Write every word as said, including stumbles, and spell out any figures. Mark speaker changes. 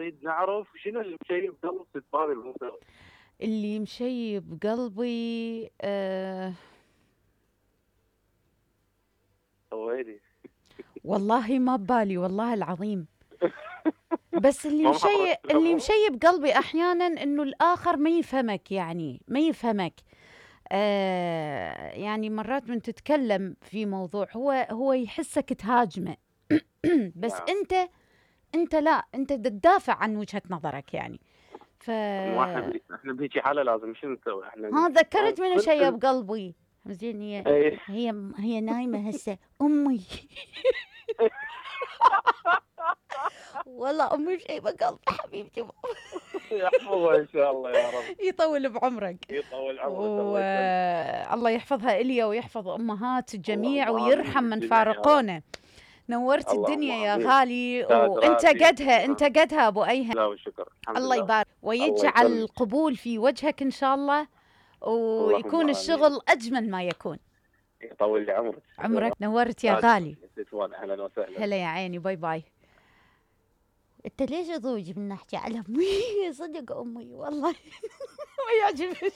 Speaker 1: نريد نعرف شنو اللي مشيب قلب ست بابي الموسوي.
Speaker 2: اللي مشيب قلبي آه
Speaker 1: ويلي
Speaker 2: والله ما ببالي والله العظيم. بس اللي
Speaker 1: ما
Speaker 2: مشيب
Speaker 1: محضرك
Speaker 2: اللي
Speaker 1: الأمور؟
Speaker 2: مشيب قلبي احيانا انه الاخر ما يفهمك، يعني ما يفهمك. آه يعني مرات من تتكلم في موضوع هو هو يحسك تهاجمه بس
Speaker 1: نعم.
Speaker 2: انت انت لا، انت تدافع عن وجهة نظرك يعني. ف
Speaker 1: ما احنا بي... احنا بهيجي حاله لازم شنو نسوي احنا؟
Speaker 2: ها ذكرت منو
Speaker 1: كل-
Speaker 2: شيب قلبي. زين هي
Speaker 1: ايه
Speaker 2: هي هي نايمة هسه امي والله امي شيبة قلبي حبيبتي.
Speaker 1: يحفظها ان شاء الله يا رب.
Speaker 2: يطول بعمرك
Speaker 1: يطول عمرك الله يسلمك.
Speaker 2: والله يحفظها إليا ويحفظ امهات الجميع
Speaker 1: اللهم
Speaker 2: ويرحم
Speaker 1: آمين
Speaker 2: من
Speaker 1: بالجميع يا رب.
Speaker 2: فارقونا. نورت
Speaker 1: اللهم
Speaker 2: الدنيا يا
Speaker 1: آمين.
Speaker 2: غالي،
Speaker 1: تاج
Speaker 2: وانت
Speaker 1: راسي
Speaker 2: قدها انت
Speaker 1: أمها.
Speaker 2: قدها ابو ايهم.
Speaker 1: لا والشكر الحمد
Speaker 2: الله
Speaker 1: لله.
Speaker 2: يبارك
Speaker 1: الله
Speaker 2: ويجعل
Speaker 1: يسلمك.
Speaker 2: القبول في وجهك ان شاء الله،
Speaker 1: اللهم
Speaker 2: ويكون
Speaker 1: آمين.
Speaker 2: الشغل اجمل ما يكون.
Speaker 1: يطول لي عمرك.
Speaker 2: عمرك نورت يا
Speaker 1: تاج
Speaker 2: غالي.
Speaker 1: راسي. اهلا وسهلا.
Speaker 2: هلا يا عيني، باي باي. انت ليش ضوج من نحكي على امي؟ صدق امي والله ما يعجبني.